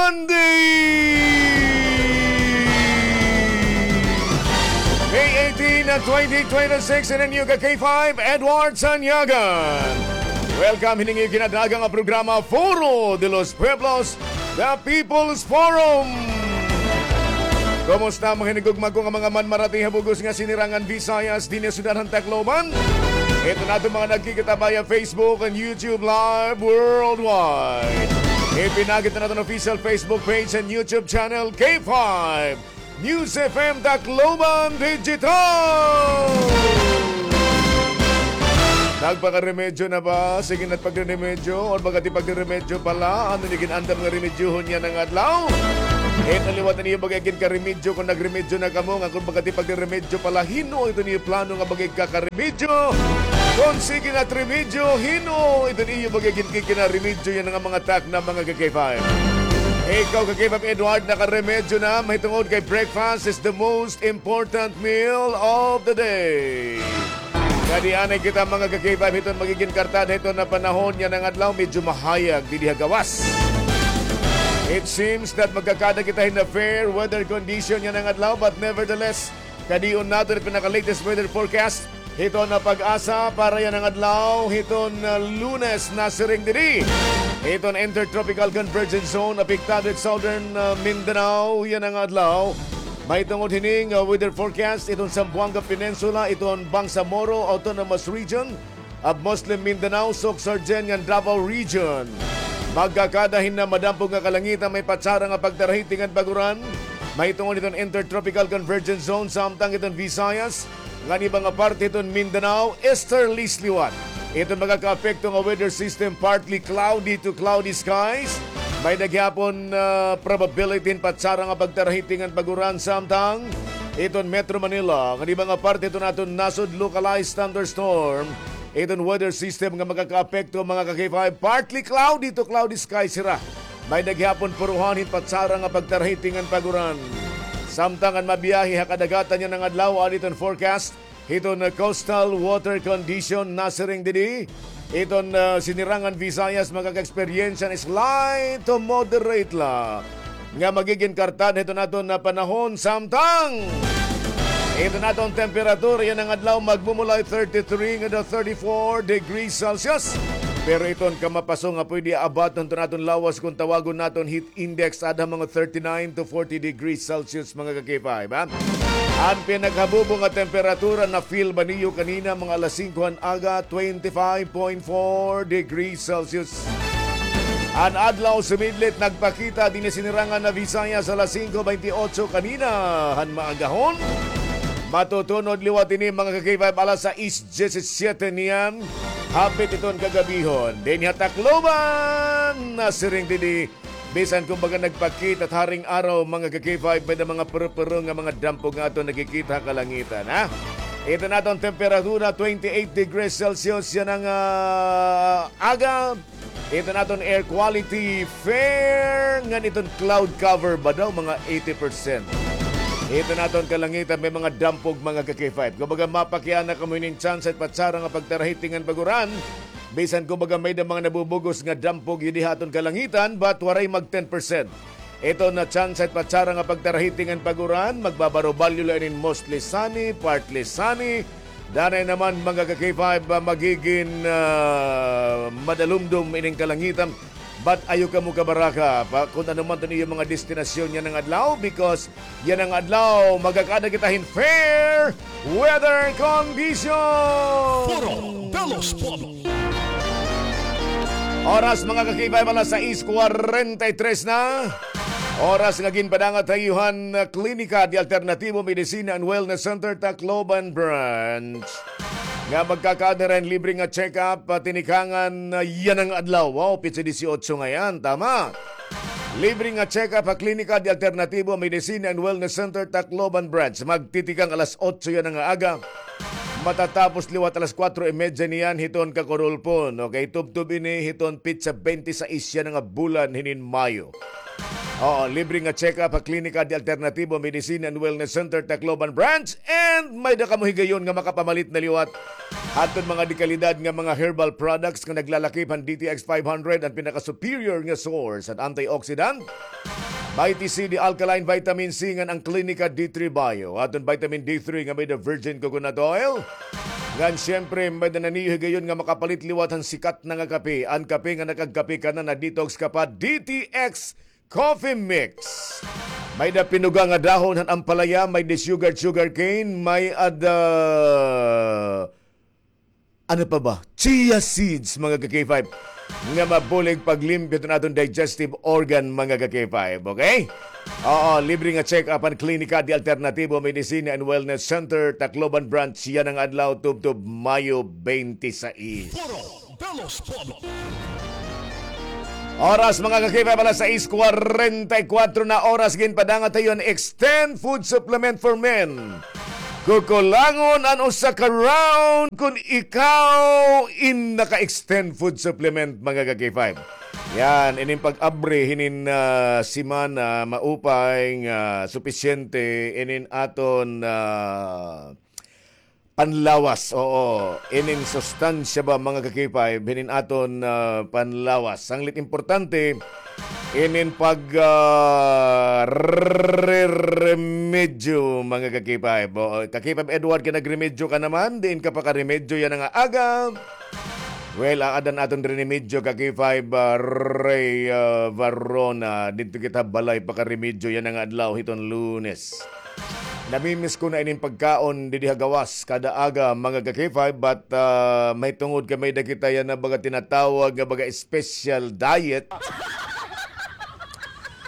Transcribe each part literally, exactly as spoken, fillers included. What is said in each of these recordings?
Monday, May eighteen, twenty twenty-six, in a new ka K five, Edward Sanyagan. Welcome, hining iyo ginadalagan nga programa, Foro de los Pueblos, The People's Forum. Kumusta, mga hinigugma ko nga mga manmarati ha bug-os nga sinirangan Visayas, dinhi ha syudad han Tacloban? Ito naton mga nagkikita via Facebook and YouTube Live worldwide. Ipinakita naton official Facebook page and YouTube channel, K five News F M Tacloban Digital. Nagpakaremedyo na ba? Sige, nagpagremedyo. Or baga ti pagremedyo pala? Ano ni gin-andam nga remedyohon yana nga adlaw? Ito liwat an iyo baga ginkaremedyo kon nagremedyo na kamo, nga kon baga ti pagremedyo pala, hin-o ito niyo plano nga baga igkakaremedyo? Kon sige na remedyo, hin-o ito niyo baga ginkikinaremedyo yana nga mga takna, mga ka-K five? Ikaw, ka-K five Edward, nakaremedyo na? Mahitungod kay breakfast is the most important meal of the day. Kadi anay kita, mga ka-K five, hiton magigin kartada hiton nga panahon yana nga adlaw, medyo mahayag didi ha gawas. It seems that magkakada kita hin fair weather condition yana nga adlaw, but nevertheless, kadion naton it pinaka-latest weather forecast hiton nga PAGASA para yana nga adlaw, hiton, ah, Lunes, nasiring didi. Hiton intertropical convergence zone apektado it southern, ah, Mindanao yana nga adlaw. Mahitungod hining, ah, weather forecast, iton Zamboanga Peninsula, iton Bangsamoro Autonomous Region of Muslim Mindanao, Sooc-Sargen ngan Davao Region. Magkakada hin madampog nga kalangitan, may patsara nga pagtarahiting ngan pag-uran. Mahitungod iton Intertropical Convergence Zone, samtang iton Visayas, ngan iba nga parte iton Mindanao, easterlies liwat. Iton magakaapekto nga weather system, partly cloudy to cloudy skies. May-ada gihapon, ah, probability hin patsara nga pagtarahiting ngan pag-uran, samtang iton Metro Manila, ngan iba nga parte iton aton nasod, localized thunderstorm. Iton weather system nga makakaapekto, mga ka-K five, partly cloudy to cloudy skies hira. May-ada gihapon puruhan hin patsara nga pagtarahiting ngan pag-uran. Samtang an mabiyahe ha kadagatan yana nga adlaw, adi iton forecast hiton, uh, coastal water condition, nasiring didi. Iton, uh, sinirangan Visayas makaka-eksperyensya hin slight to moderate la nga magigin kartada hiton aton nga panahon, samtang iton aton temperatura yana nga adlaw magmumulay thirty-three ngada thirty-four degrees Celsius. Pero iton kamapaso nga pwede abaton hiton aton lawas kon tawagon naton heat index, ada mga thirty-nine to forty degrees Celsius, mga ka-K five, ha? An pinaghabubo nga temperatura na-feel ba niyo kanina mga alas singko han aga, twenty-five point four degrees Celsius. An adlaw sumidlit nagpakita dinhi sinirangan nga Visayas alas singko baynte otso kanina han maagahon. Matutunod liwat ini, mga ka-K five, alas sais diyesisiyete niyan. Hapit iton kagabihon. Dinhi ha Tacloban, nasiring didi, bisan kumbaga nagpakita it haring araw, mga ka-K five, may-ada mga purupuro nga mga dampog nga aton nakikita ha kalangitan, ha? Iton aton temperatura, twenty-eight degrees Celsius yana nga, ah, aga. Iton aton air quality, fair, ngan iton cloud cover ba daw, mga eighty percent. Iton aton kalangitan, may mga dampog, mga ka-K five. Kumbaga, mapakiana kamo hinin tsansa it patsara nga pagtarahiting ngan pag-uran. Bisan kumbaga may-ada mga nabubug-os nga dampog dinhi ha aton kalangitan, but waray mag ten percent. Iton tsansa it patsara nga pagtarahiting ngan pag-uran, magbabarubalyo la inin mostly sunny, partly sunny. Danay naman, mga ka-K five, ah, magigin, ah, madalumdom ining kalangitan. But ayaw kamo kabaraka, pa, kon ano man iton iyo mga destinasyon yana nga adlaw, because yana nga adlaw, magkakada kita hin fair weather condition. Foro de los Pueblos. Oras, mga ka-K five, alas sais kwarenta y tres na. Oras nga ginpadangat ha iyo han Klinika de Alternativo Medicina and Wellness Center, Tacloban Branch, nga magkakaada hira hin libre nga check-up, ah, tinikangan, ah, yana nga adlaw. Wow, petsa disiotso ngay-an, tama. Libre nga check-up ha Klinika de Alternativo Medicina and Wellness Center, Tacloban Branch. Magtitikang alas otso yana nga aga. Matatapos liwat alas kuwatro y medya niyan hiton kakurulpon. Okay, tubtob ini hiton petsa baynte sais yana nga bulan hinin Mayo. Oo, libre nga check-up ha Klinika de Alternativo Medicine and Wellness Center, Tacloban Branch. And may-ada kamo higayon nga makapamalit na liwat hadton mga dekalidad nga mga herbal products nga naglalakip han D T X five hundred, an pinaka-superior nga source han antioxidant. Mighty C, the alkaline vitamin C, ngan an Klinika D three Bio. Aton vitamin D three nga may-ada virgin coconut oil. Ngan siyempre, may-ada na niyo higayon nga makapalit liwat han sikat na nga kape. An kape nga nakagkape ka na, na-detox ka pa, D T X Coffee Mix. May-ada pinuga nga dahon han ampalaya, may-ada sugar, sugar cane, may-ada, ano pa ba? Chia seeds, mga ka-K five. Nga mabulig paglimpyo hiton aton digestive organ, mga ka-K five. Okay? Oo, libre nga check-up an Klinika de Alternativo Medicina and Wellness Center, Tacloban Branch, yana nga adlaw, tubtob Mayo twenty-six. Foro de los Pueblos. Oras, mga ka-K five, alas sais kwarenta y kuwatro na oras, ginpadangat ha iyo an Extend Food Supplement for Men. Kukulangon an usa ka round kon ikaw in naka-Extend Food Supplement, mga ka-K five. Yan, inin pag-abri hinin, ah, semana, maupay nga supisyente inin aton, ah, panlawas, oo. Inin sustansya ba, mga ka-K five, hinin aton, ah, panlawas. Sanglit importante, inin pag, ah, re-, remedyo, mga ka-K five. Oo, ka-K five Edward, kay nagremedyo ka naman, diin ka pakaremedyo yana nga aga. Well, aada an aton remedyo, ka-K five, ah, Ray, ah, Varona, didto kita balay pakaremedyo yana nga adlaw hiton Lunes. Namimiss ko na inin pagkaon didi ha gawas kada aga, mga ka-K five, but, ah, mahitungod kay may-ada kita yana baga tinatawag nga baga special diet.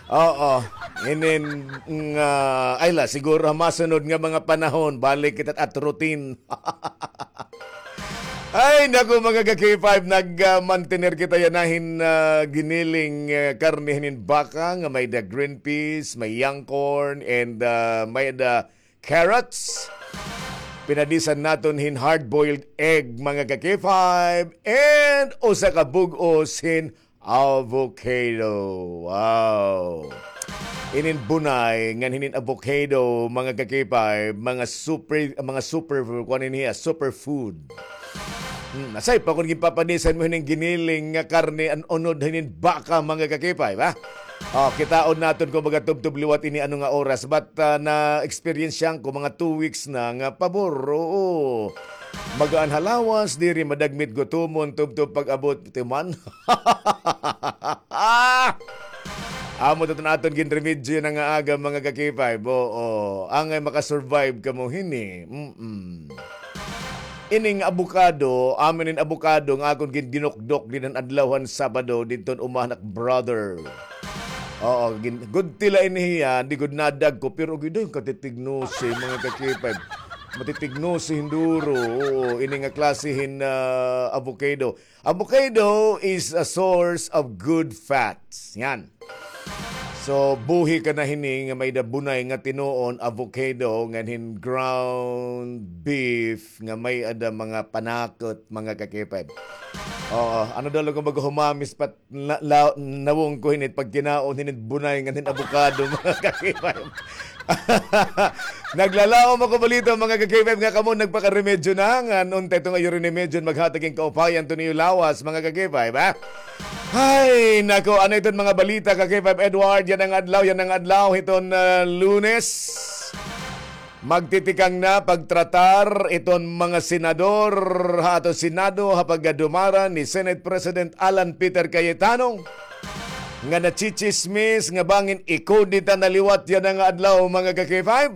Oo. Inin nga, ay la, siguro ha masunod nga mga panahon, balik kita at routine. Ay, naku, mga ka-K five, nag, ah, mantener kita yana hin, ah, giniling, ah, karne hinin baka nga may-ada green peas, may young corn, and, ah, may-ada carrots. Pinadisan naton hin hard-boiled egg, mga ka-K five, and usa ka bug-os hin avocado. Wow. Inin bunay ngan hinin avocado, mga ka-K five, mga super, mga super, kuan ini hiya, super food. Hmm, asay pa kon ginpapanisan mo hinin giniling nga karne an unod hinin baka, mga ka-K five, ha? Oh, kitaon naton kon baga tubtob liwat ini ano nga oras. But, ah, na-experience-an ko mga two weeks na nga pabor. Oo. Magaan ha lawas, diri madagmit gutomon, tubtob pag-abot timan. Amo ito an aton ginremedyo yana nga aga, mga ka-K five. Oo, angay makasurvive kamo hini. Mm-mm. Ining abokado, amo inin abokado nga akon gin-, ginukdok dida han adlaw han Sabado didto han uma han ak brother. Oo, gin-, gudti la ini hiya, di gud nadagko, pero gid ay katitignosi, mga ka-K five. Matitignosi hin duro. Oo, ini nga klase hin, ah, avocado. Avocado is a source of good fats. Yan. So, buhi ka na hini nga may-ada bunay nga tinuon, avocado, ngan hin ground beef, nga may-ada mga panakot, mga ka-K five. Oo, ano daw lang kung maghumamis pat na, la, nawong ko hinit pagkinaon hinit bunay ngan hin abukado, mga ka-K five. Naglalaom ako balita, mga ka-K five, nga kamo nagpakaremedyo na, ngan unta ito nga iyo rinimedyo maghatag hin kaupayan to niyo lawas, mga ka-K five, ha? Ay, nako, ano iton mga balita, ka-K five Edward, yana nga adlaw, yana nga adlaw, hiton, ah, Lunes. Magtitikang na pagtratar iton mga senador ha aton Senado ha paggadumaran ni Senate President Alan Peter Cayetano nga nachichismis nga bangin ikudeta na liwat yana nga adlaw, mga ka-K five.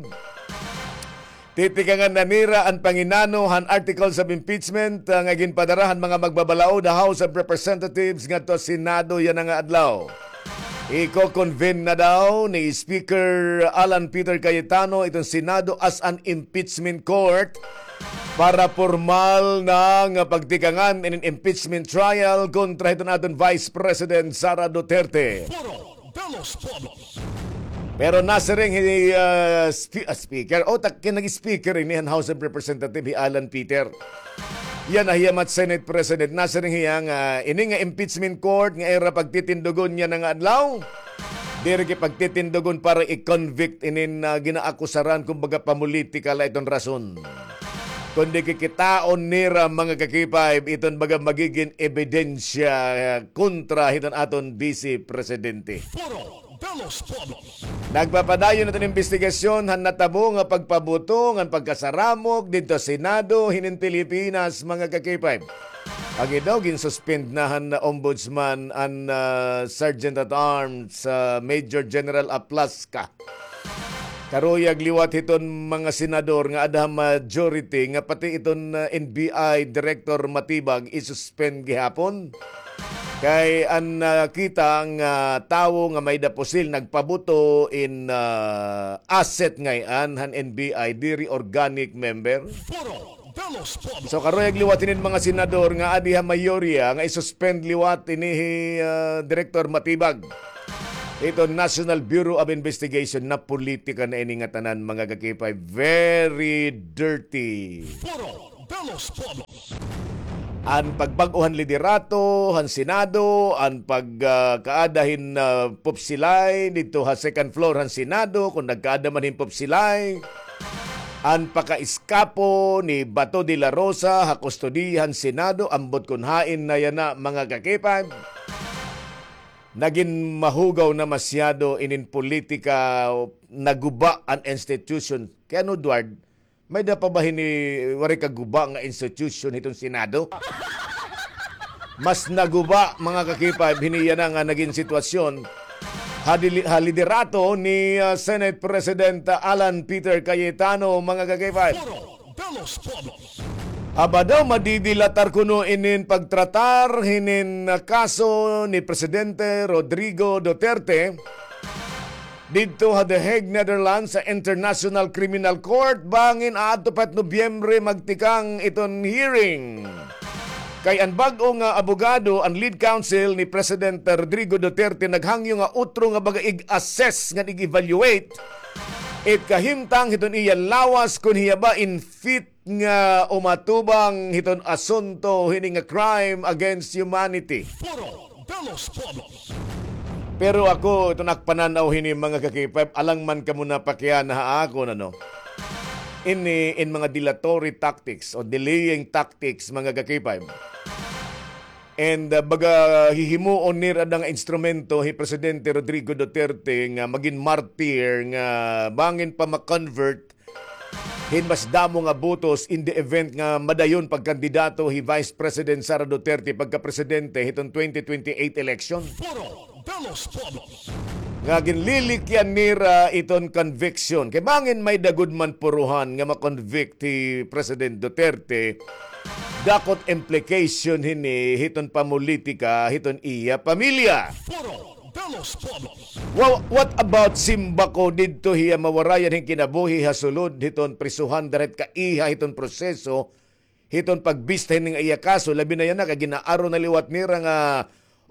Titikangan na nira an panginano han articles of impeachment, ah, nga ginpadara han mga magbabalaod ha House of Representatives ngadto ha Senado yana nga adlaw. Iko-convene na daw ni Speaker Alan Peter Cayetano iton Senado as an impeachment court para pormal na nga pagtikangan inin impeachment trial kontra hiton aton Vice President Sara Duterte. Foro de los Pueblos. Pero nasiring hi, ah, spe-, ah, Speaker, o, tak-, nag-speaker ini han House of Representative hi Alan Peter. Yana hiya mat Senate President, nasiring hiya nga ini nga impeachment court nga ira pagtitindugon yana nga adlaw, diri kay pagtitindugon para i-convict inin, ah, ginaakusaran, kumbaga, pamulitikal la iton rason. Kundi kikitaon nira, mga ka-K five, iton baga magigin ebidensya, ah, kontra hiton aton Vice Presidente. Foro Nagpapadayon iton investigasyon han natabo nga pagpabuto ngan pagkasaramok didto ha Senado hinin Pilipinas, mga ka-K five. Agi daw, ginsuspend na han Ombudsman an, ah, Sergeant at Arms, ah, Major General Aplasca. Karuyag liwat hiton mga senador nga ada ha majority nga pati iton, ah, N B I Director Matibag isuspend gihapon. Kay an, ah, kita nga tawo nga may-ada pusil nagpabuto in, ah, asset ngay-an han N B I, diri organic member. So karuyag liwat hinin mga senador nga adi ha mayorya nga isuspend liwat ini hi, ah, Director Matibag. Ito National Bureau of Investigation, napolitika na ini nga tanan, mga ka-K five. Very dirty. An pagbag-o han liderato han Senado, an pag, ah, kaada hin, ah, pupsilay didto ha second floor han Senado, kon nagkaada man hin pupsilay. An pakaiskapo ni Bato de la Rosa ha kustodiya han Senado, ambot kon hain na yana, mga ka-K five. Nagin mahugaw na masyado inin politika, naguba an institution. Kay ano, Edward, may-ada pa ba hini waray kaguba nga institution hiton Senado? Mas naguba, mga ka-K five, hini yana nga nagin sitwasyon ha dili-, ha liderato ni, ah, Senate President, ah, Alan Peter Cayetano, mga ka-K five. Aba daw, madidilatar kuno inin pagtratar hinin, ah, kaso ni Presidente Rodrigo Duterte didto ha The Hague, Netherlands, sa International Criminal Court, bangin aadto pa it Nobyembre magtikang iton hearing. Kay an bag-o nga abogado, an lead counsel ni President Rodrigo Duterte, naghangyo nga utro nga baga ig-assess ngan ig-evaluate it kahimtang hiton iya lawas kon hiya ba in fit nga umatubang hiton asunto hini nga crime against humanity. Pero ako, iton ak pananaw hini, mga ka-K five, alang man kamo napakiana ha akon, ano, ini in mga dilatory tactics o delaying tactics, mga ka-K five. And, uh, baga hihimuon nira nga instrumento hi Presidente Rodrigo Duterte nga magin martir nga bangin pa ma-convert hin mas damo nga botos in the event nga madayon pagkandidato hi Vice President Sara Duterte pagkapresidente hiton twenty twenty-eight election. Nga ginlilikyan nira iton conviction. Kay bangin may-ada gud man puruhan nga ma-convict hi President Duterte, dako it implication hini hiton pamolitika hiton iya pamilya. Wa-, what about Simbaco didto hiya mawarayan hin kinabuhi ha sulod hiton prisuhan dara hit kaiha hiton proseso hiton pagbista hini nga iya kaso, labi na yana kay gin-aaro na liwat nira nga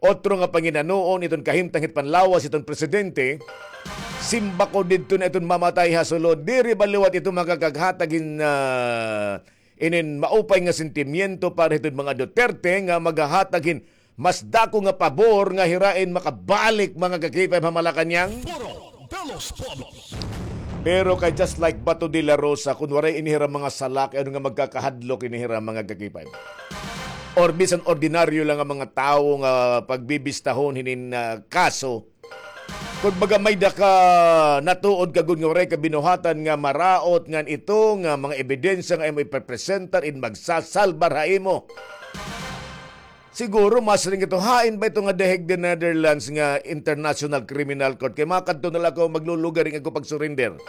otro nga panginanoon iton kahimtang hit panlawas hiton presidente. Simbaco didto na iton mamatay ha sulod, diri ba liwat ito makakaghatag hin, ah, inin maupay nga sentimiento para hiton mga Duterte nga maghahatag hin mas dako nga pabor nga hira in makabalik, mga ka-K five, ha Malacañang? Pero kay just like Bato de la Rosa, kun waray ini hira mga sala, kay ano nga magkakahadlok ini hira, mga ka-K five? Or bisan ordinaryo lang nga mga tawo nga pagbibistahon hinin, ah, kaso, kun baga may-ada ka natuod ka gud nga waray ka binuhatan nga maraot ngan ito nga mga ebidensya nga imo ipepresentar in magsasalbar ha imo. Siguro masiring ito, hain ba ito nga The Hague, the Netherlands nga International Criminal Court? Kay makadto na la ako, maglulugar in ako pag-surrender.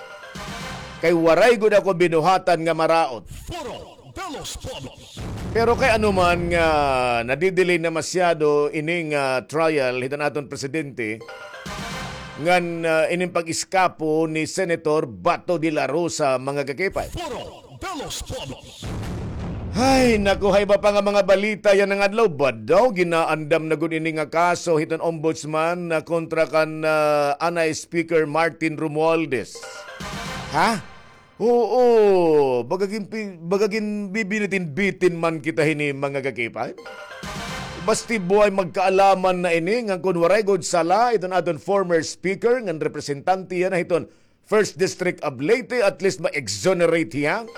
Kay waray gud ako binuhatan nga maraot. Pero kay ano man nga nadidelay na masyado ini nga trial hiton aton presidente, ngan, ah, ining pag-iskapo ni Senator Bato de la Rosa, mga ka-K five. Hay, naku, hay iba pa nga mga balita yana nga adlaw. Ba daw, ginaandam na gud ini nga kaso hiton ombudsman na kontra kan, ah, anay Speaker Martin Romualdez. Ha? Oo, baga ginpi-, baga ginbibinitin-bitin man kita hini, mga ka-K five. Basti buhay magkaalaman na ini, ngan kun waray gud sala, iton aton former speaker, ngan representante yana hiton First District of Leyte, at least ma-exonerate hiya.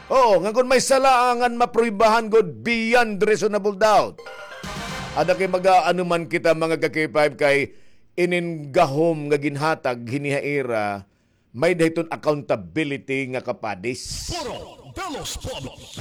Oo, ngan kun may sala, ngan mapruibahan gud beyond reasonable doubt. Ada kay mag-aano man kita, mga ka-K five, kay inin gahom nga ginhatag hini ha ira, may-ada hiton accountability nga kapadis. Foro de los Pueblos.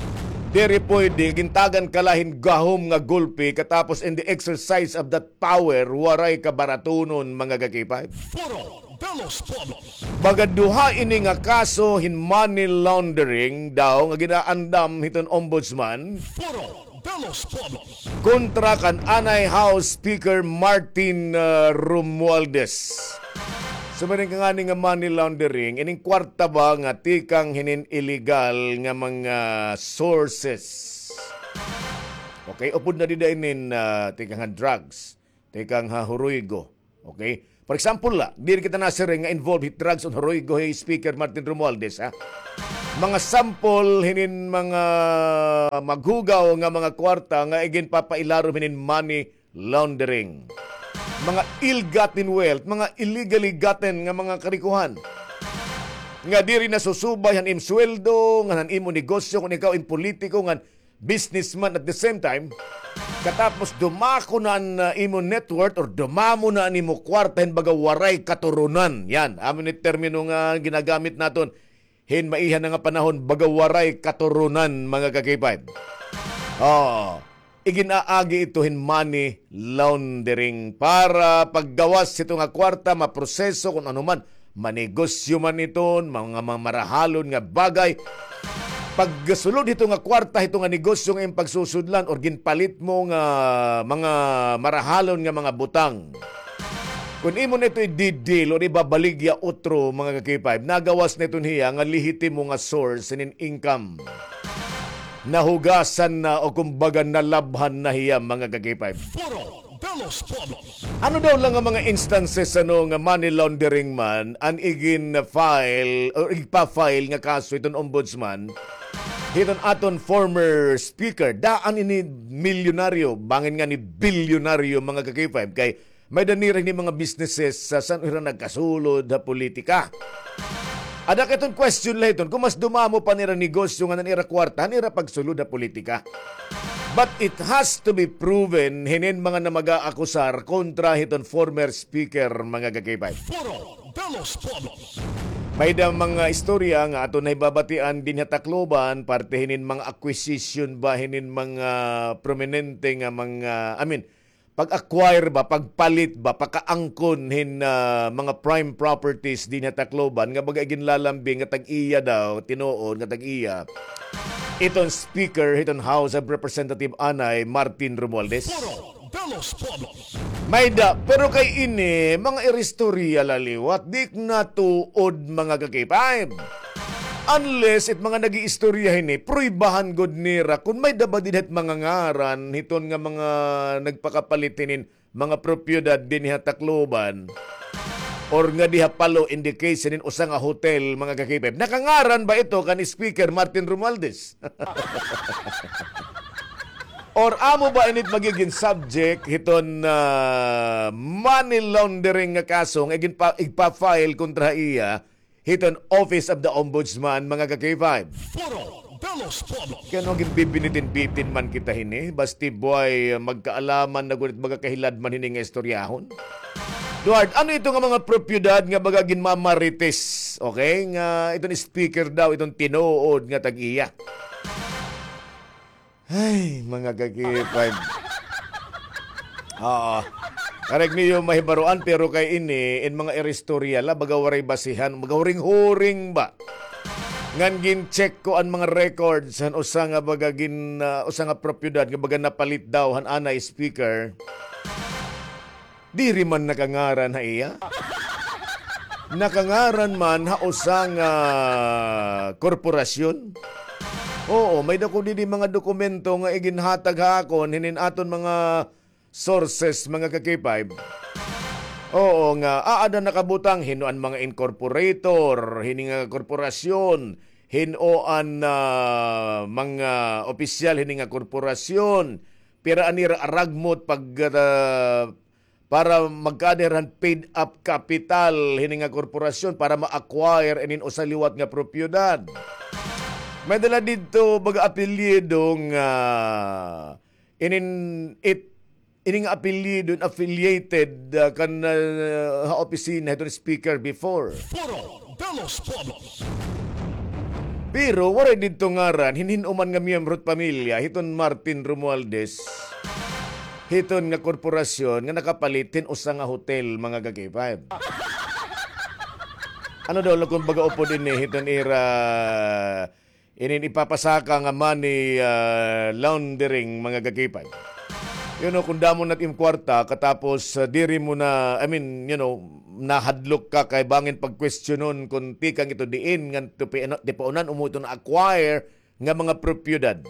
Diri pwede, gintagan ka la hin gahom nga gulpi, katapos in the exercise of that power, waray ka baratunon, mga ka-K five. Foro de los Pueblos. Baga duha ini nga kaso hin money laundering daw nga ginaandam hiton ombudsman. Foro de los Pueblos. Kontra kan anay House Speaker Martin, ah, Romualdez. Sumaring ka ngani nga money laundering, ining kwarta ba nga tikang hinin illegal nga mga sources. Okay, upod na dida inin, ah, tikang ha drugs, tikang ha huroygo. Okay? For example la, diri kita nasiring nga involved hit drugs on huroygo hi Speaker Martin Romualdez, ha? Mga sample hinin mga maghugaw nga mga kwarta nga iginpapailarom hinin money laundering. Mga ill-gotten wealth, mga illegally gotten nga mga karikohan. Nga diri nasusubay han im sweldo, ngan han imo negosyo, kon ikaw im politiko, ngan businessman at the same time, katapos dumako na an, ah, imo net worth or dumamo na an imo kwarta hin baga waray katurunan. Yan, amo ni termino nga ginagamit naton, hin maiha na nga panahon, baga waray katurunan, mga ka-K five. Oh, igin-aagi ito hin money laundering para paggawas hito nga kwarta, maproseso kon ano man, manegosyo man iton, mga, mga marahalon nga bagay. Pagsulod hito nga kwarta, hito nga negosyo nga im pagsusudlan or ginpalit mo nga mga marahalon nga mga butang. Kon imo na ito i-deal or ibabaligya utro, mga ka-K five, nagawas na iton hiya nga lehitimo nga source hinin income. Nahugasan na o kumbaga nalabhan na hiya, mga ka-K five. Foro de los Pueblos. Ano daw la nga mga instances, ano, nga money laundering man an igin-file or igpa-file nga kaso hiton ombudsman hiton aton former speaker? Daan ini milyonaryo, bangin ngani bilyonaryo, mga ka-K five, kay may-ada nira hini mga businesses san-o hira nagkasulod ha politika. Ada kay iton question la hiton, kon mas dumamo pa an ira negosyo ngan an ira kwarta han ira pagsulod ha politika. But it has to be proven hinin mga namag-aakusar kontra hiton former speaker, mga ka-K five. Foro de los Pueblos. May-ada mga istorya nga aton nahibabatian dinhi ha Tacloban, parte hinin mga acquisition ba hinin mga prominente nga mga, I mean, pag-acquire ba, pagpalit ba, pakaangkon hin, ah, mga prime properties dinhi ha Tacloban, nga baga iginlalambing nga tag-iya daw, tinuod nga tag-iya iton Speaker hiton House of Representative anay, Martin Romualdez. Foro de los Pueblos. May-ada, pero kay ini, mga iristorya la liwat, di na tuod, mga ka-K five. Unless it mga nag-iistorya hini, pruibahan gud nira kon may-ada ba dinhi hit mga ngaran hiton nga mga nagpakapalit hinin mga propiedad dinhi ha Tacloban or nga diha Palo in the case hinin usa nga hotel, mga ka-K five. Nakangaran ba ito kan Speaker Martin Romualdez? Or amo ba init magigin subject hiton, ah, money laundering nga kaso nga igin pa, igpa-file kontra ha iya hiton Office of the Ombudsman, mga ka-K five. Foro de los Pueblos. Kay ano, ginbibinitin-bitin man kita hini, basti buhay, magkaalaman na gud it baga kahilad man hini nga istoryahon. Duard, ano ito nga mga propiedad nga baga ginmamarites, okay, nga iton speaker daw, iton tinuod nga tag-iya? Ay, mga ka-K five. Oo. Karek niyo mahibaroan, pero kay ini, in mga iristorya la, baga waray basihan, baga huring-huring ba? Ngan gin-check ko an mga records han usa nga baga gin, ah, usa nga propiedad nga baga napalit daw han anay speaker. Diri man nakangaran ha iya. Nakangaran man ha usa nga korporasyon. Oo, may-ada ko didi mga dokumento nga iginhatag ha akon hinin aton mga sources, mga ka-K five. Oo, nga aada nakabutang hin-o an mga incorporator hini nga korporasyon, hin-o an, ah, mga opisyal hini nga korporasyon, pira an ira aragmot pag, ah, para magkaada hira han paid up capital hini nga korporasyon para ma-acquire inin usa liwat nga propiedad. May-ada la didto baga apelyido nga inin it ini nga apelyido, affiliated, ah, kan, ah, ha opisina hiton speaker before. Foro de los Pueblos. Pero waray didto ngaran hin hin-o man nga miyembro hit pamilya hiton Martin Romualdez, hiton nga korporasyon nga nakapalit hin usa nga hotel, mga ka-K five. Ano daw la kon baga upod ini hiton ira inin ipapasaka nga money, ah, laundering, mga ka-K five. You know, kon damo na it im kwarta, katapos, ah, diri mo na, I mean, you know, nahadlok ka kay bangin pagkwestiyonon kon tikang ito diin, ngan ti pa-, tipaunan, amo ito na-acquire nga mga propiedad.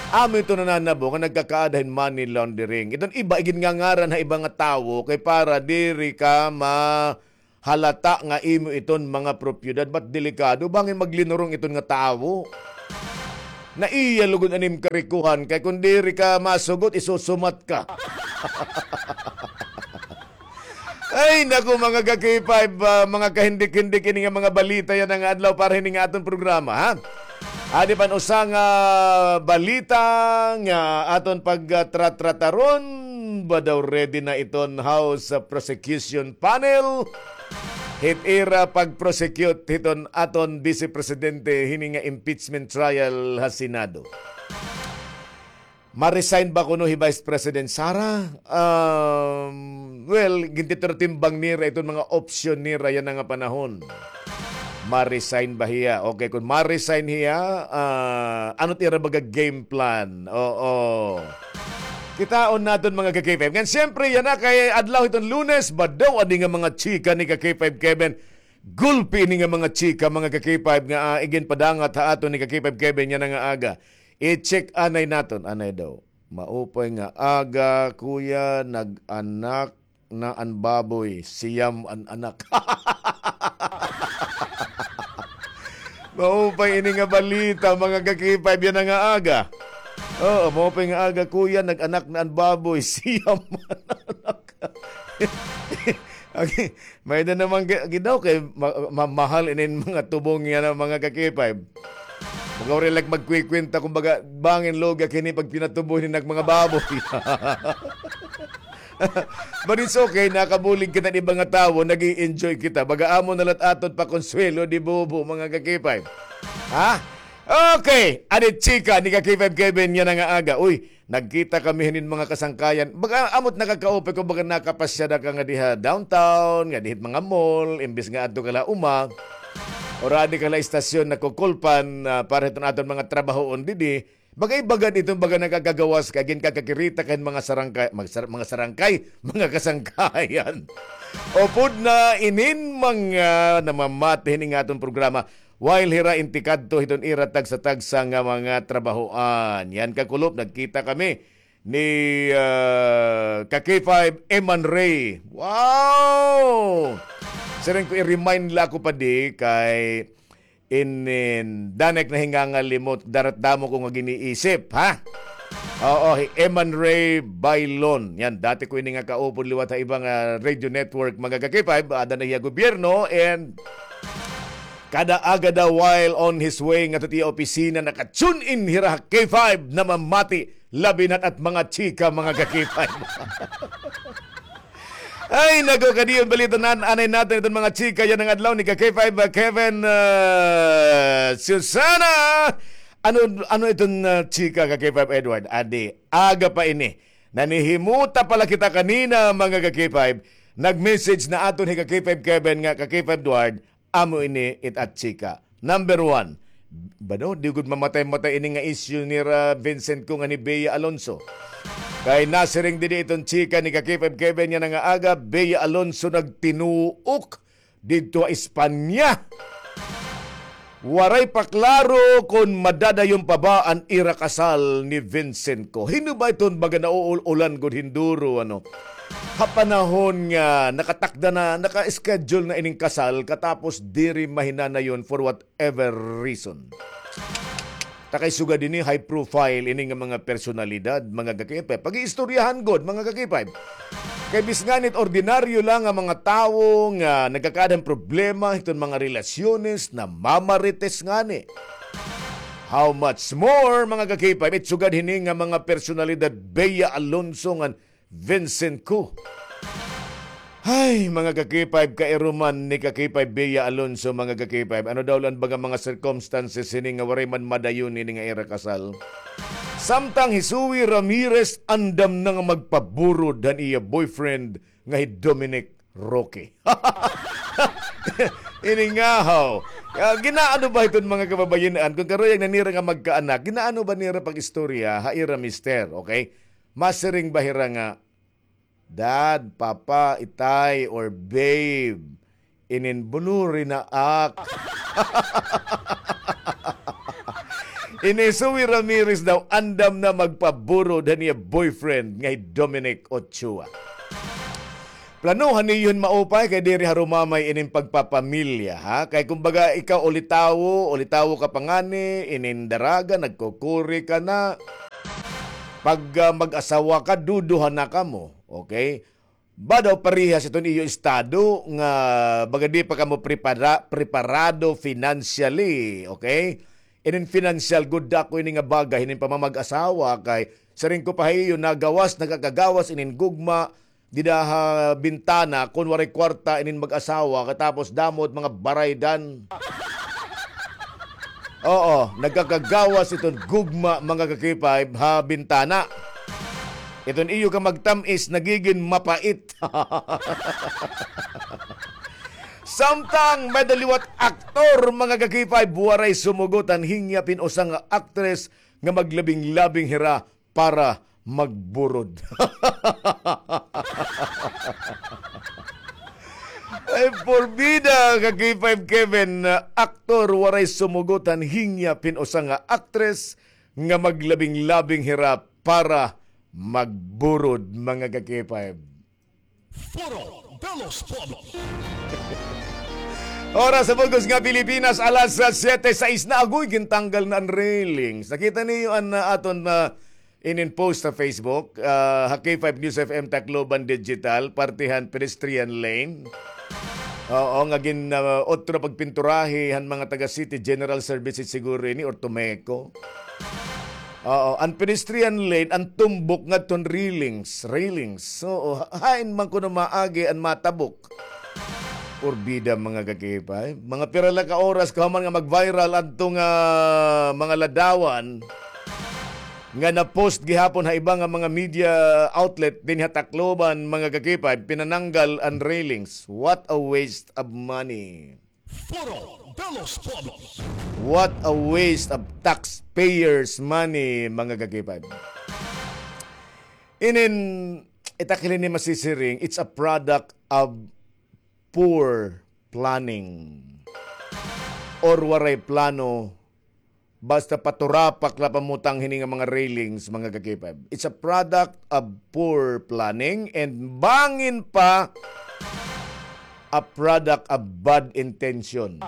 Amo ito nananabo nga nagkakaada hin money laundering. Iton iba, iginngangaran ha iba nga tawo kay para diri ka ma-, halata nga imo iton mga propiedad, ba't delikado? Bangin maglinurong iton nga tawo. Naiya lugod an im karikohan, kay kon diri ka masugot, isusumat ka. Ay, naku, mga ka-K five, ah, mga kahindik-hindik ini nga mga balita yana nga adlaw para hini nga aton programa, ha? Adi pa an usa nga balita nga aton pagtratrataron, ba daw ready na iton House Prosecution Panel hit ira pag-prosecute hiton aton Vice Presidente hini nga impeachment trial ha Senado. Ma-resign ba kuno hi Vice President Sara? Um, well, gintitirtimbang nira iton mga option nira yana nga panahon. Ma-resign ba hiya? Okay, kon ma-resign hiya, ah, ano it ira baga game plan? Oo. Kitaon naton, mga ka-K five. Ngan siyempre, yana kay adlaw hiton Lunes, ba daw adi nga mga chika ni ka-K five Kevin. Gulpi ini nga mga chika, mga ka-K five, nga, ah, iginpadangat ha aton ni ka-K five Kevin yana nga aga. I-check anay naton, anay daw. Maupay nga aga, kuya, nag-anak na an baboy, siyam an anak. Maupay ini nga balita, mga ka-K five, yana nga aga. Oo, maupay nga aga, kuya, nag-anak na an baboy, siyam an anak. Okay, may-ada na man gi-, gidaw kay ma-, ma-, mahal inin mga tubong yana, mga ka-K five. Baga waray la ak magkukwenta, kumbaga, bangin lugi ak hini pagpinatubo hini nga mga baboy. But it's okay, nakabulig kita hin iba nga tawo, nag-i-enjoy kita. Baga amo na la it aton pakonsuwelo, di bubo, mga ka-K five. Ha? Okay, adi it chika ni ka-K five Kevin yana nga aga. Uy, nagkita kami hinin mga kasangkayan. Baga, amo it nakakaupay kon baga nakapasyada ka ngadi ha downtown, ngadi hit mga mall, imbis nga adto ka la uma, or adi ka la istasyon nakukulpan, ah, para hiton aton mga trabahoon didi. Baga iba gad iton baga nakakagawas ka, ginkakakirita ka hin mga sarangkay, magsar-, mga sarangkay, mga kasangkayan. Upod na inin mga namamati hinin nga aton programa. While hira intikadto hiton ira tagsa-tagsa nga mga trabahoan. Yan, kakulop, nagkita kami ni, ah, ka-K five Eman Ray. Wow! Siring ko, i-remind la ako pa di kay inin, damo ak nahingangalimot, darat damo ko nga giniisip, ha? Oo, hi Eman Ray Bailon. Yan, dati ko ini nga kaupod liwat ha iba nga radio network, mga ka-K five, ada na hiya gobyerno, and kada aga daw while on his way ngadto hit iya opisina, naka-tune in hira ha K five, namamati, labi na it mga chika, mga ka-K five. Ay, naku, kadi iton balita na anay naton iton mga chika yana nga adlaw ni ka-K five, ah, Kevin, ah, Susana. Ano, ano iton, ah, chika, ka-K five Edward? Adi, aga pa ini. Nanihimuta pa la kita kanina, mga ka-K five. Nag-message na aton hi ka-K five Kevin nga, ka-K five Edward, amo ini it at chika. Number one, ba daw, di gud mamatay-matay ini nga issue nira Vincent ko ngan hi Bea Alonso. Kay nasiring didi iton chika ni ka-K five Kevin yana nga aga, Bea Alonso nagtinuok didto ha Espanya. Waray pa klaro kon madadayon pa ba an ira kasal ni Vincent ko. Hin-o ba iton baga nauul-ulan gud hin duro, ano? Ha panahon nga nakatakda na, naka-schedule na ining kasal, katapos diri mahinanayon for whatever reason. Ta kay sugad ini, high profile ini nga mga personalidad, mga ka-K five. Pag-iistoryahan gud, mga ka-K five. Kay bisan ngani it ordinaryo la nga mga tawo nga nagkakaada hin problema hiton mga relasyones, namamarites ngani. How much more, mga ka-K five, it sugad hini nga mga personalidad, Bea Alonso ngan Vincent Ku. Hay, mga ka-K five, kairuman ni ka-K five Bea Alonso, mga ka-K five. Ano daw la an baga mga circumstances hini nga waray man madayon hini nga ira kasal? Samtang hi Zoe Ramirez andam na nga magpaburod han iya boyfriend nga hi Dominic Roque. Ini nga haw. Ah, ginaano ba iton mga kababayen-an? Kon karuyag na nira nga magkaanak, ginaano ba nira pag-istorya ha ira mister, okay? Masiring ba hira nga, "Dad, Papa, Itay, or Babe, inin bunuri na ak." Ini Zoe Ramirez daw andam na magpaburod han iya boyfriend nga hi Dominic Ochoa. Planohan niyo hin maupay kay diri harumamay inin pagpapamilya, ha? Kay kumbaga ikaw ulitawo, ulitawo ka pa ngani, inin daraga, nagkukuri ka na. Pag, ah, mag-asawa ka, duduha na kamo, okay? Ba daw parehas iton iyo estado nga baga di pa kamo prepara-, preparado financially, okay? Inin financial, good ako ini nga bagay, inin pamamag-asawa kay siring ko pa ha iyo, nagawas, nagakagawas inin gugma dida ha bintana kon waray kwarta inin mag-asawa, katapos damo it mga baraydan. Oo, nagkakagawas iton gugma, mga ka-K five, ha bintana. Iton iyo ka magtam-is, nagigin mapait. Samtang may da liwat aktor, mga ka-K five, waray sumugot han hingyap hin usa nga aktres nga maglabing-labing hira para magburod. Ay, porbida ka K five Kevin, ah, aktor, waray sumugot han hingyap hin usa nga aktres nga maglabing-labing hira para magburod, mga ka K five. Foro de los Pueblos. Oras sa bug-os nga Pilipinas, alas, ah, siyete sais na. Agoy, gintanggal na an railings. Nakita niyo an, ah, aton, ah, inin post sa Facebook, ah, ha K five News F M Tacloban Digital, parte han pedestrian lane. Oo, nga gin, ah, otro pagpinturahe han mga taga City General Services siguro ini or Tumeco. Oo, an pedestrian lane, an tumbok ngadton railings, railings. Oo, ha-, hain man kuno maagi an matabok? Porbida, mga ka-K five. Mga pira la ka oras kahuman nga mag-viral adto nga mga ladawan nga na-post gihapon ha iba nga mga media outlet dinhi ha Tacloban, mga ka-K five, pinananggal an railings. What a waste of money. Foro de los Pueblos. What a waste of taxpayers' money, mga ka-K five. Inin, it akili ni masisiring, it's a product of poor planning. Or waray plano, basta paturapak la pamutang hini nga mga railings, mga ka-K five. It's a product of poor planning and bangin pa a product of bad intention.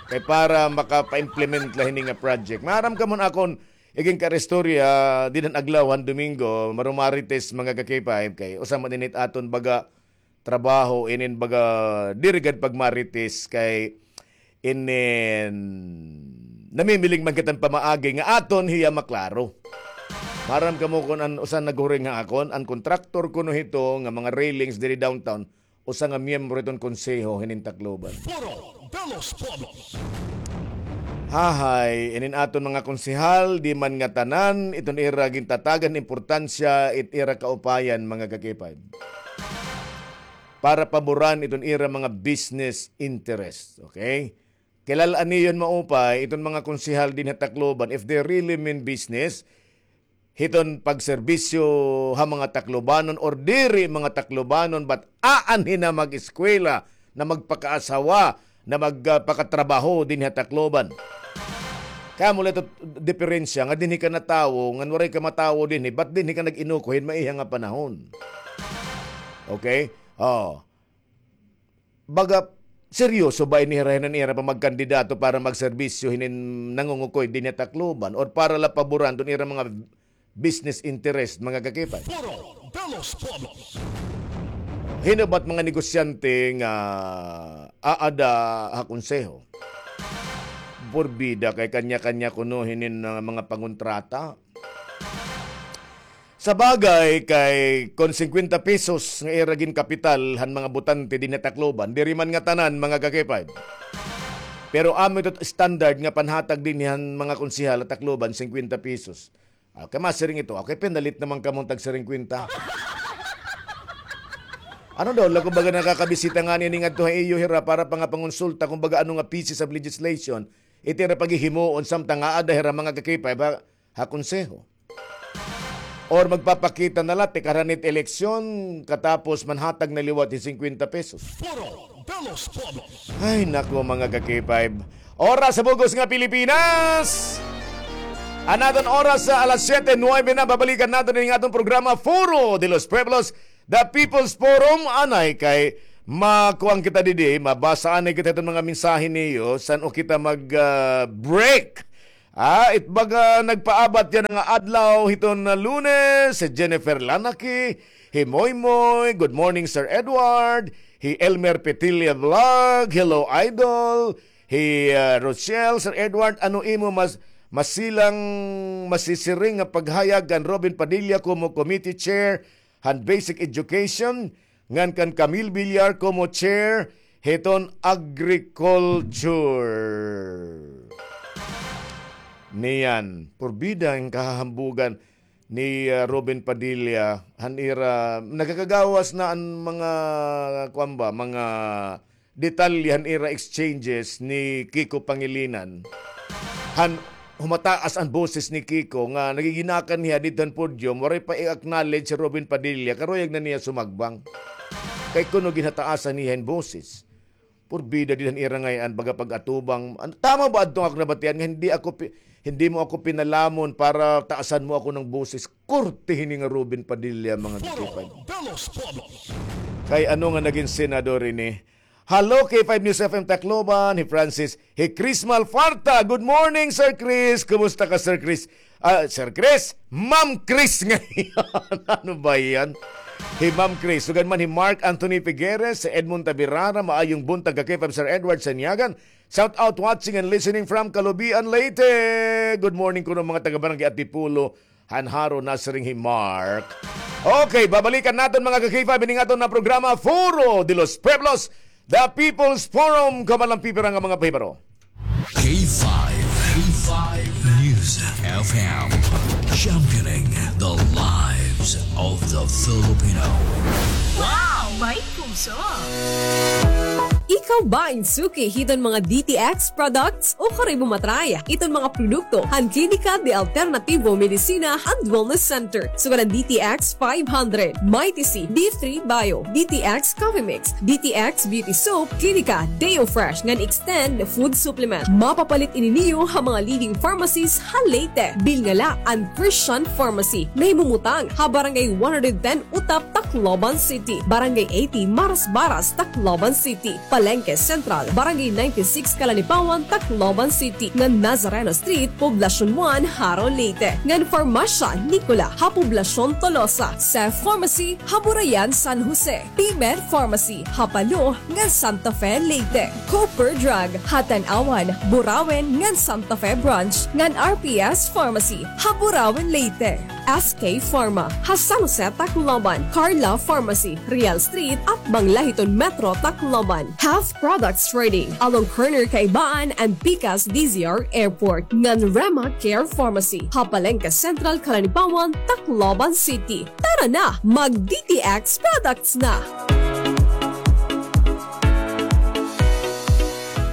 Kay para makapa-implement la hini nga project. Maaram kamo an akon igin karistorya, dinhi han adlaw han Domingo, marumarites, mga ka-K five, kay usa man ini it aton baga trabaho, inin baga diri gad pagmarites kay inin namimiling man kita hin pamaagi nga aton hiya maklaro. Maaram kamo kon an usa naghuring ha akon, an kontraktor kuno hito nga mga railings diri downtown, usa nga miyembro hiton konseho hinin Tacloban. Foro de los Pueblos. Hahay, inin aton mga konsehal, di man ngatanan iton ira gintatagan importansya it ira kaupayan, mga ka-K five. Para paboran iton ira mga business interest, okay? Kilal-an niyo hin maupay iton mga konsehal dinhi ha Tacloban, if they really mean business, hiton pagserbisyo ha mga Taclobanon or diri mga Taclobanon, but aanhi na mag-eskwela, na magpakaasawa, na mag, ah, pakatrabaho dinhi ha Tacloban. Kamo la ito diferensya nga dinhi ka natawo, ngan waray ka matawo dinhi, but dinhi ka nag-inuko hin maiha nga panahon. Okay? Oh. Baga, seryoso ba ini hira hin ira pamagkandidato para magserbisyo hinin nangungukoy dinhi ha Tacloban or para la paboran iton ira mga business interest, mga ka-K five? Foro de los Pueblos. Hin-o ba it mga negosyante nga aada ha konseho? Porbida kay kanya-kanya kuno hinin, ah, mga pangontrata. Sa bagay, kay kon singkwenta pesos nga ira ginkapital han mga botante dinhi ha Tacloban, diri man ngatanan, mga ka-K five. Pero amo ito standard nga panhatag dinhi han mga konsehal ha Tacloban, singkwenta pesos. Ah, kay masiring ito, okay, pinalit naman kamo tag singkwenta. Ano daw, la, kumbaga nakakabisita ngani ini ngadto ha iyo hira para pa nga pangonsulta, kumbaga ano nga pieces of legislation, iti ira paghihimuon samtang aada hira mga ka-K five ha, ha konseho. Or magpapakita na la, tikara hit eleksyon, katapos manhatag na liwat hin singkwenta pesos. Foro de los Pueblos. Ay, nako, mga ka-K five. Oras sa bug-os nga Pilipinas. An aton oras sa alas siyete nuwebe na, babalikan naton ini nga aton programa, Foro de los Pueblos, The People's Forum. Anay kay makuan kita didi, mabasa anay kita hiton mga mensahe niyo, san-o kita mag, ah, break. Ah, it baga nagpaabat yana nga adlaw hiton Lunes, si Jennifer Lanaki, hi Moymoy, good morning, Sir Edward, hi Elmer Petilla Vlog, hello, idol, hi, ah, Rochelle, Sir Edward, ano imo mas-, masilang, masisiring nga paghayag kan Robin Padilla komo committee chair han basic education, ngan kan Camille Villar komo chair hiton agriculture. Niyan, purbida an kahahambugan ni, ah, Robin Padilla, han ira, nagakagawas na an mga, kuan ba, mga detalye han ira exchanges ni Kiko Pangilinan. Han humataas an boses ni Kiko nga nagiginakan hiya didto han podium, waray pa i-acknowledge si Robin Padilla, karuyag na niya sumagbang. Kay kuno ginhataasan niya hin boses. Purbida dida han ira ngay-an baga pag-atubang. An-, tama ba adto nga ako nabatian nga hindi ako pi-, hindi mo ako pinalamon para taasan mo ako ng boses? Korte hini nga Robin Padilla, mga Foro ka-K five. De los Pueblos. Kay ano nga nagin senador ini? Hello, K five News F M Tacloban, hi Francis, hi Chris Malfarta. Good morning, Sir Chris. Kumusta ka, Sir Chris? Ah, Sir Chris? Ma'am Chris ngayon. Ano ba yan? Hi Ma'am Chris. Sugad man hi Mark Anthony Figueres, Edmond Tabirara, maayong buntag ka K five Sir Edward Sanyagan. Shout out, watching and listening from Calubian, Leyte. Good morning kuno mga taga Barangay Antipolo. Han Jaro, nasiring hi Mark. Okay, babalikan naton mga ka-K five ining aton na programa, Foro de los Pueblos, The People's Forum, kauban an pipira nga mga pahibaro. K five, K five News F M, championing the lives of the Filipino. Wow! May puso! Ikaw ba in suki hiton mga D T X products? O kay bumatray iton mga produkto han Klinika de Alternativo Medicina and Wellness Center. Sugad an D T X five hundred, Mighty C, D three Bio, D T X Coffee Mix, D T X Beauty Soap, Klinika Deo Fresh ngan Extend Food Supplement. Mapapalit ini niyo ha mga leading pharmacies ha Leyte. Bilngala an Christian Pharmacy, nahimumutang ha Barangay one hundred ten Utap, Tacloban City, Barangay eighty Marasbaras, Tacloban City, Palengke Central, Barangay ninety-six Calanipawan, Tacloban City, ngan Nazareno Street, Poblacion one, Jaro, Leyte, ngan Farmasya Nicola ha Poblacion Tolosa, Seth Pharmacy ha Burayan, San Jose, Pimer Pharmacy ha Palo ngan Santa Fe, Leyte, Cooper Drug ha Tanauan, Burauen ngan Santa Fe Branch, ngan R P S Pharmacy ha Burauen, Leyte. S K Pharma ha San Jose, Tacloban, Carla Pharmacy, Real Street, atbang la hiton Metro Tacloban. Health Products Trading, along corner Kaibaan and pikas D Z R Airport, ngan Rema Care Pharmacy ha Palengke Central, Calanipawan, Tacloban City. Tara na, mag D T X products na!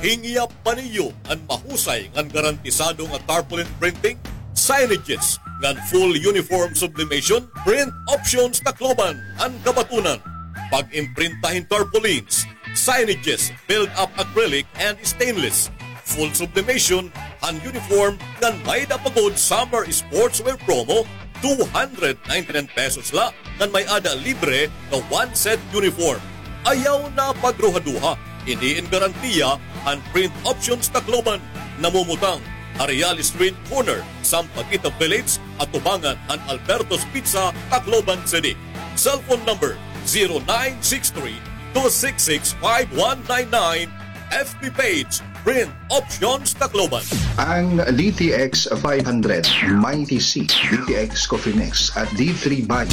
Hingyap pa niyo an mahusay ngan garantisado nga tarpaulin printing, signages, ngan full uniform sublimation? Print Options Tacloban an kabatunan. Pag-imprinta hin tarpaulins, signages, build-up acrylic and stainless, full sublimation han uniform, ngan may-ada pa gud summer sportswear promo, two hundred ninety-nine pesos la, ngan may-ada libre nga one set uniform. Ayaw na pagruhaduha, ini in garantiya han Print Options Tacloban. Namumutang ha Real Street corner, Sampaguita Village, atubangan han Alberto's Pizza, Tacloban City. Cellphone number, zero nine six three, two six six, five one nine nine. F B page, Print Options Tacloban. Ang D T X five hundred, Mighty C, D T X Coffee Mix at D three Bio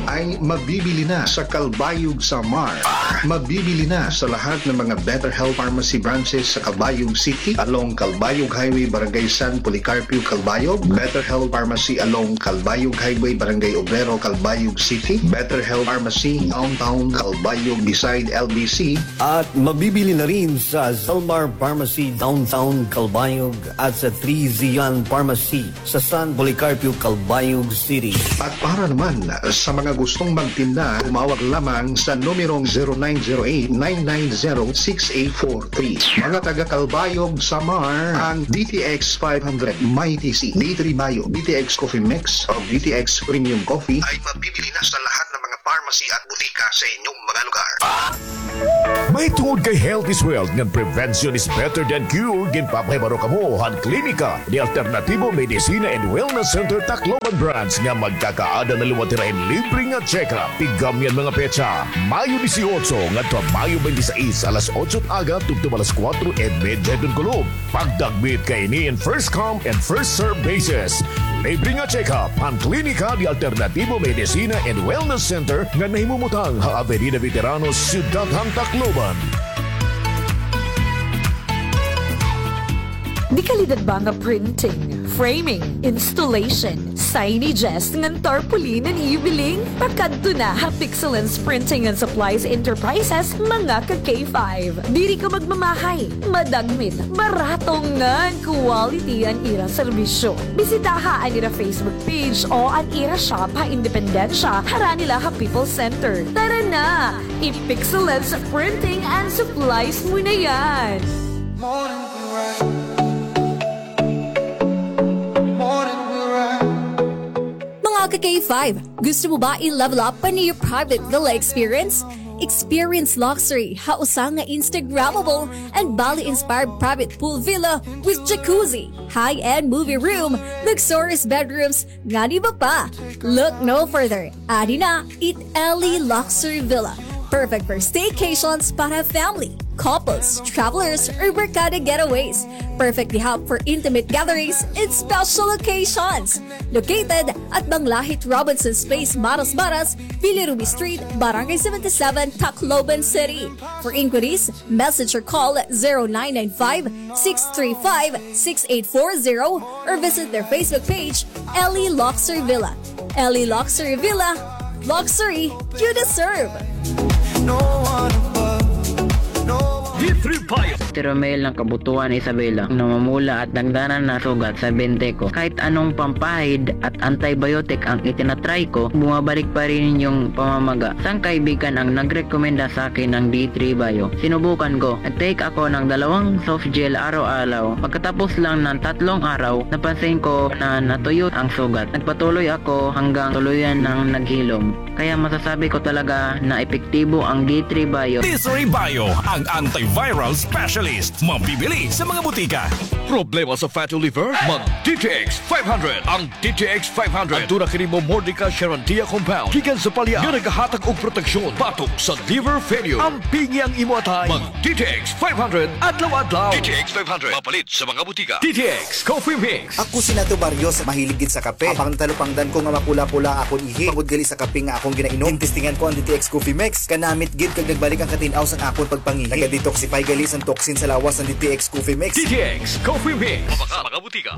ay mabibili na sa Calbayog, Samar. Mabibili na sa lahat ng mga Better Health Pharmacy branches sa Calbayog City, along Calbayog Highway, Barangay San Policarpio, Calbayog, Better Health Pharmacy along Calbayog Highway, Barangay Obrero, Calbayog City, Better Health Pharmacy, Downtown Calbayog, beside L B C, at mabibili na rin sa Zalmar Pharmacy, Downtown Calbayog, at sa Three Zion Pharmacy sa San Policarpio, Calbayog City. At para naman sa mga gustong magtinda, tumawag lamang sa numerong zero nine zero eight, nine nine zero, six eight four three. Mga taga Calbayog, Samar, ang D T X five hundred, Mighty C, D three Bio, D T X Coffee Mix, o D T X Premium Coffee ay mabibili na sa lahat ng mga pharmacy at butika sa inyong mga lugar. Mahitungod kay health is wealth ngan prevention is better than cure, ginpapahibaro kamo han Klinika de Alternativo Medicina and Wellness Center Tacloban Branch nga magkakaada na liwat hira hin libre nga check-up. Tigam niyan mga petsa, Mayo dieciocho ngadto ha Mayo twenty-six, alas otso aga tubtob alas kuwatro y medya hiton kulop. Pagdagmit kaini in first come and first serve basis. Libre nga check-up an Klinika de Alternativo Medicina and Wellness Center nga nahimumutang ha Avenida Veteranos, Syudad han Tacloban. Dekalidad ba nga printing, framing, installation, signages ngan tarpaulin an ibiling? Pakadto na ha Pixelens Printing and Supplies Enterprises, mga ka K five. Diri ka magmamahay, madagmit, barato ngan quality an ira serbisyo. Bisitaha an ira Facebook page o an ira shop ha Independencia, harani la ha People's Center. Tara na! I-Pixelens Printing and Supplies mo na yan! Mga ka K five, gusto mo ba i-level up an iyo private villa experience? Experience luxury ha usa nga Instagrammable and Bali-inspired private pool villa with jacuzzi, high-end movie room, luxurious bedrooms, ngan iba pa. Look no further. Adi na it Ellie Luxury Villa. Perfect for staycations para family, couples, travelers, or barkada getaways. Perfect ihap for intimate gatherings and special occasions. Located at Banglahit Robinson's Place, Marasmaras, Villa Ruby Street, Barangay seventy-seven, Tacloban City. For inquiries, message or call zero nine nine five, six three five, six eight four zero or visit their Facebook page, Ellie Luxury Villa. Ellie Luxury Villa, luxury you deserve. D three Bio. Si Romel, nakabutuan ni Isabela, namumula at nagdadala na sugat sa bente ko. Kahit anong pampahid at antibiotic ang itinatry ko, bumabalik pa rin yung pamamaga. Isang kaibigan ang nagrekomenda sa akin ng D three Bio. Sinubukan ko. Nag-take ako ng dalawang soft gel araw-araw. Pagkatapos lang ng tatlong araw, napansin ko na natuyo ang sugat. Nagpatuloy ako hanggang tuluyan ng naghilom. Kaya masasabi ko talaga na epektibo ang D three Bio. D three Bio, ang antiviral specialist. Mabibili sa mga butika. Problema sa fatty liver? Mag D T X five hundred. Ang D T X five hundred. Aduna kini Momordica Charantia compound gikan sa palya nga nagahatag og proteksyon batok sa liver failure. Ampingi ang imo atay. Mag D T X five hundred adlaw-adlaw. D T X five hundred. Mapalit sa mga butika. D T X Coffee Mix. Ako si Nato Barrios, mahilig gid sa kape. Apang natalupangdan ko nga mapula-pula akon ihi tungod gali sa kape nga akon ginainom, ginestingan ko an D T X Coffee Mix. Kanamit gid kag nagbalik an katin-aw san akon pagpangihi. Naga-detoxify gali san toxin sa lawas an D T X Coffee Mix. D T X Coffee Mix. Mabaka sa mga butika.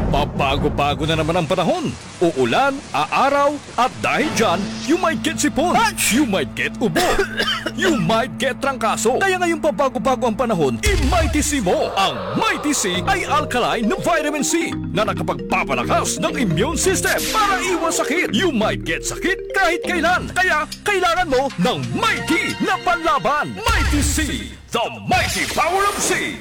Pabago-bago na naman ang panahon. Uulan, aaraw, at dahil dyan, you might get sipon. You might get ubo. You might get trangkaso. Kaya ngayong pabago-bago ang panahon, i-Mighty C mo. Ang Mighty C ay alkaline na vitamin C na nakapagpapalakas ng immune system para iwas sakit. You might get sakit kahit kailan. Kaya kailangan mo ng Mighty na panlaban. Mighty C, the mighty power of C.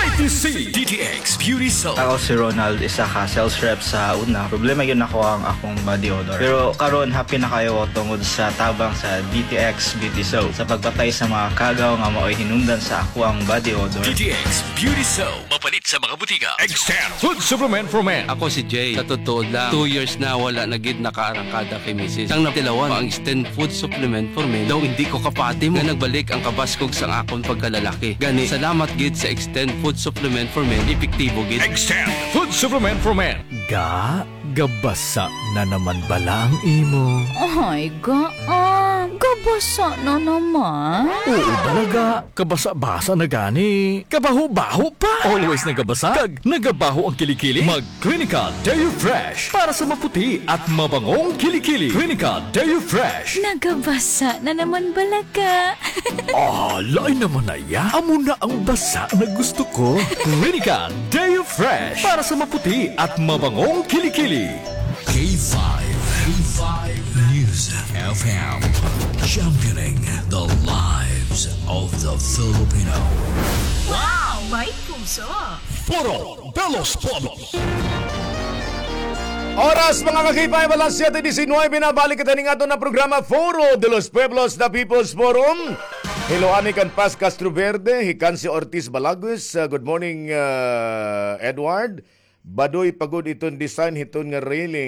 I T C D T X Beauty Soap. Ako si Ronald, isa ka sales rep sa una. Problema gyud nako ang akong body odor. Pero karon, happy na kaayo ko tungod sa tabang sa D T X Beauty Soap sa pagpatay sa mga kagaw nga maoy hinungdan sa akoang body odor. D T X Beauty Soap. Mapalit sa mga butika. Extend Food Supplement for Men. Ako si Jay. Sa totoo lang, two years na wala na gid nakaarangkada kay misis. Sang natilawan pa ang Extend Food Supplement for Men, daw indi ko kapati mo nga nagbalik ang kabaskog sang akon pagkalalaki. Gani, salamat gid sa Extend Food Supplement for Men, epektibo gid. Extend Food Supplement for Men. Ga, gabasa na naman bala ang imo? Ay, ga, ah, gabasa na naman. Oo, bala ga. Kabasa-basa na gani. Kabaho-baho pa. Always nagabasa. Kag nagabaho ang kilikili. Mag Clinica Deo Fresh para sa maputi at mabangong kilikili. Clinica Deo Fresh. Nagabasa na naman bala ga. Ah, lain naman na iya. Amo na ang basa na gusto ko. Clinica Deo Fresh para sa maputi at mabangong kilikili. K five, K five News F M, championing the lives of the Filipino. Wow! May puso! Foro de los Pueblos. Oras, mga ka-K five, alas siyete disinuybe na. Balik kita ning aton na programa, Foro de los Pueblos, The People's Forum. Hello, ani kan Paz Castroverde, hi Kansi Ortiz Balagues. Uh, good morning, uh, Edward. Badoy pa gud iton design hiton nga railing.